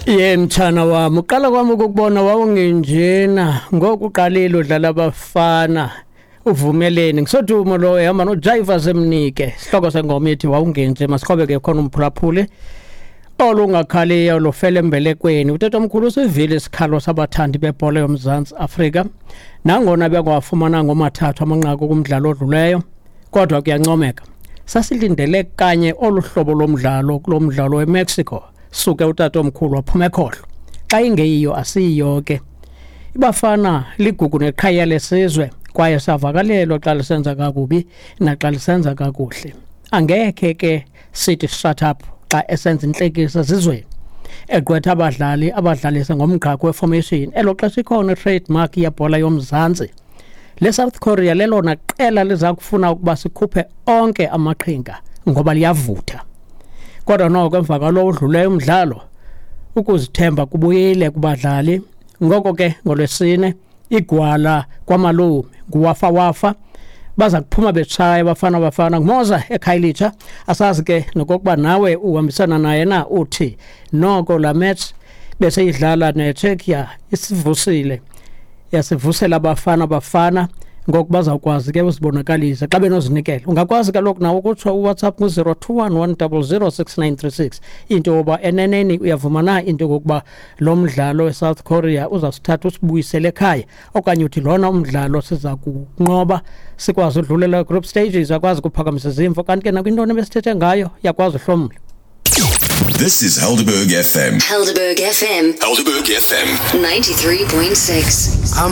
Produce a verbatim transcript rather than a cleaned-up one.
Ye mtshana wami, uqala kwami ukukubona wawungenjena, ngoku uqalile udlala abafana. Uvumeleni ngisodumo lo ehamba noJaiva Zemnike. Sihloko sengoma ethi wawungenje. Masiqhubeke ke khona umphulaphuli olungakhaliyo lufele embelekweni. Utatomkhulu usivile isikhalo sabathandi bebhola yoMzantsi Afrika, nangona bengawafumananga omathathu amanqaku kumdlalo odluleyo, kodwa kuyancomeka. Sasilindele kanye olu hlobo lomdlalo kulo mdlalo weMexico. Suke utatomkhulu waphuma ekhohlo, xa ingeyiyo asiyiyo ke. Ibafana ligugu neqhaya lesizwe, kwaye savakalelwa xa lisenza kakubi naxa lisenza kakuhle. Angekhe ke sithi shut up xa esenza intlekisa zizweni, egqwetha abadlali abadlalise ngomgqakho weformation elo xesha ikhona i-trademark yebhola yoMzantsi. Le South Korea lelona qela liza kufuna ukuba sikhuphe onke amaqhinga ngoba liyavutha. Kodwa noko emva kwalo udluleyo umdlalo, ukuzithemba kubuyile kubadlali. Ngoko ke ngoLwesine igwala kwamalume nguwafa wafa, baza kuphuma betshaya Bafana Bafana. Ngumoza eKhayelitsha. Asazi ke nokokuba nawe uhambisana naye na, uthi noko la match beseyidlala neCzechia isivusile, yasivusela Abafana Bafana, ngoku bazawukwazi ke uzibonakalisa xa benozinikela. Ungakwazi kaloku nawe ukutsho, uWhatsApp ngu-zero two one one double zero six nine three six, into yoba eneneni uyavuma na into yokokuba lo mdlalo weSouth Korea uzawusithatha usibuyisele ekhaya, okanye uthi lona umdlalo siza kunqoba sikwazi udlulela group stages, akwazi ukuphakamisa izimvo. Kanti ke nakwintoni ebesithethe ngayo yakwazi uhlomla. This is Helderberg F M. Helderberg F M. Helderberg F M. ninety-three point six.